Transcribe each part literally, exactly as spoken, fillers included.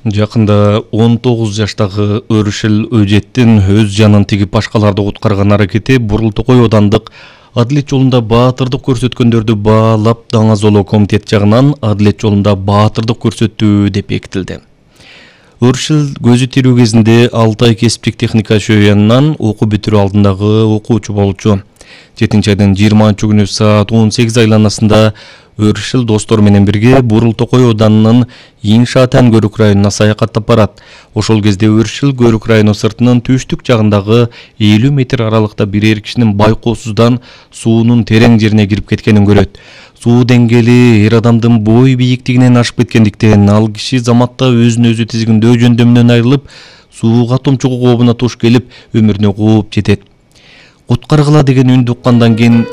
Жакында он тогуз жаштагы Өрүшел Өжеттин өз жанын тигип башкаларды куткарган аракети Бурултокой аудандык адилет жолунда баатырдык көрсөткөндөрдү баалап Даңазолоо комитет жагынан адилет жолунда баатырдык көрсөттү деп бекитилди. Өрүшел көзү тирүү кезинде Алтай кесиптик техника шөянынан окуу бүтүрүү алдындагы окуучу болчу. жетинчи айдын жыйырманчы күнү саат он сегиз айланасында Өрүшел достор менен бирге Бурултокой ауданынын Иншаат Көрүк районуна саякаттап барат. Ошол кезде Өрүшел Көрүк району сыртынын түштүк жагындагы элүү метр аралыкта бирер кишинин байкоосуздан суунун терең жерине кирип кеткенин көрөт. Суу деңгээли эр адамдын бой бийиктигинен ашып кеткендиктен ал киши заматта өзүн өзү тизгиндөө жөндөмүнөн айрылып, сууга томчугуу кообуна туш келип, өмүрүнө кууп жетет. Куткаргыла деген үндү уккандан кийин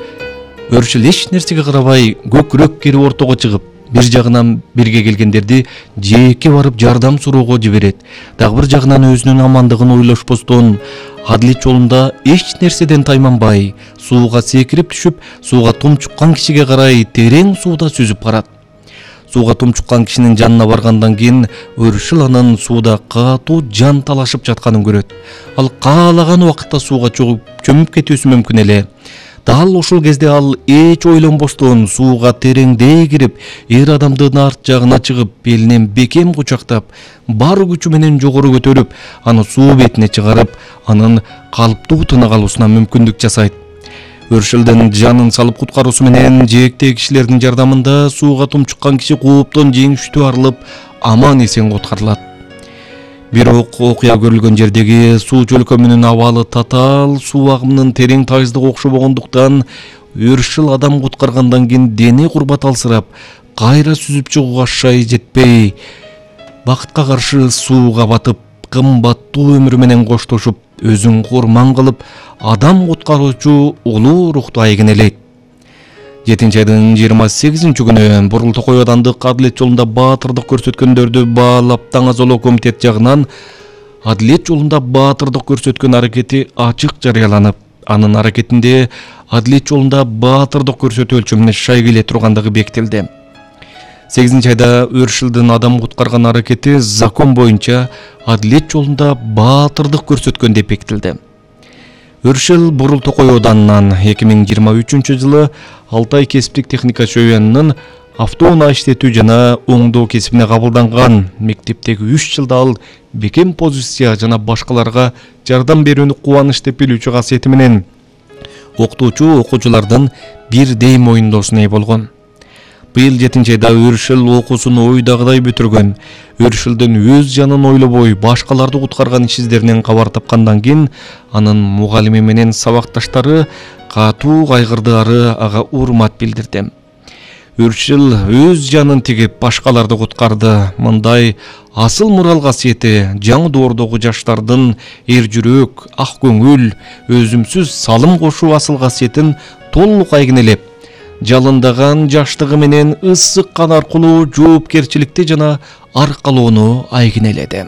Өрүшел эч нерсеге карабай көкүрөк кирип ортого чыгып, бир жагынан бирге келгендерди жээкке барып жардам суроого жиберет. Дагы бир жагынан өзүнүн амандыгын ойлошпостон адилет жолунда эч нерседен тайманбай, сууга секирип түшүп, сууга тумчуккан кишиге карай терең сууда сүзүп барат. Сууга тумчуккан кишинин жанына баргандан кийин Өрүшел анын сууда катуу жан талашып жатканын көрөт. Ал каалаган убакытта сууга чогуп чөмүп кетүүсү мүмкүн эле. Дал ошол кезде ал эч ойлонбостон сууга тереңдей кирип, эр адамдын арт жагына чыгып, белинен бекем кучактап, бар күчү менен жогору көтөрүп, аны суу бетине чыгарып, анын калыптуу тына калуусуна мүмкүндүк жасайт. Өрүшелдин жанын салып куткаруусу менен жээктеги кишилердин жардамында сууга тумчуккан киши кооптон жеңиштүү арылып, аман эсен куткарылат. Бирок окуя көрүлгөн жердеги суу чөлкөмүнүн абалы татаал, суу агымынын терең тайыздыгы окшобогондуктан Өрүшел адам куткаргандан кийин дене курбат алсырап, кайра сүзүп чыгууга шай жетпей, бакытка каршы сууга батып, кымбаттуу өмүрү менен коштошуп, өзүн курман кылып, адам куткаруучу улуу рухту айгинелейт. жетинчи айдын жыйырма сегизинчи күнү Бурултокой аудандык адилет жолунда баатырдык көрсөткөндөрдү баалап Даңазолоо комитет жагынан адилет жолунда баатырдык көрсөткөн аракети ачык жарыяланып, анын аракетинде адилет жолунда баатырдык көрсөтүү өлчөмүнө шай келе тургандыгы бекитилди. сегизинчи айда Өрүшелдин адам куткарган аракети закон боюнча адилет жолунда баатырдык көрсөткөн деп бекитилди. Өрүшел Бурултокой ауданынан эки миң жыйырма үчүнчү жылы Алтай кесиптик техника шөянынын автоунаа иштетүү жана оңдоо кесибине кабылданган. Мектептеги үч жылда ал бекем позиция жана башкаларга жардам берүүнү кубаныч деп билүүчү касиети менен окутуучу окуучулардын бирдей моюндоосуна ээ болгон. Быйыл жетинчи айда Өрүшел окуусун ойдагыдай бүтүргөн. Өрүшелдин өз жанын ойлобой башкаларды куткарган иш издеринен кабар тапкандан кийин анын мугалими менен сабакташтары катуу кайгырды, ары ага урмат билдирди. Өрүшел өз жанын тигип башкаларды куткарды. Мындай асыл мурал касиети жаңы доордогу жаштардын эр жүрөк, ак көңүл, өзүмсүз салым кошуу асыл касиетин толук айгинелеп, жалындаган жаштыгы менен ысык кан аркылуу жоопкерчиликти жана аркалоону айгинеледи.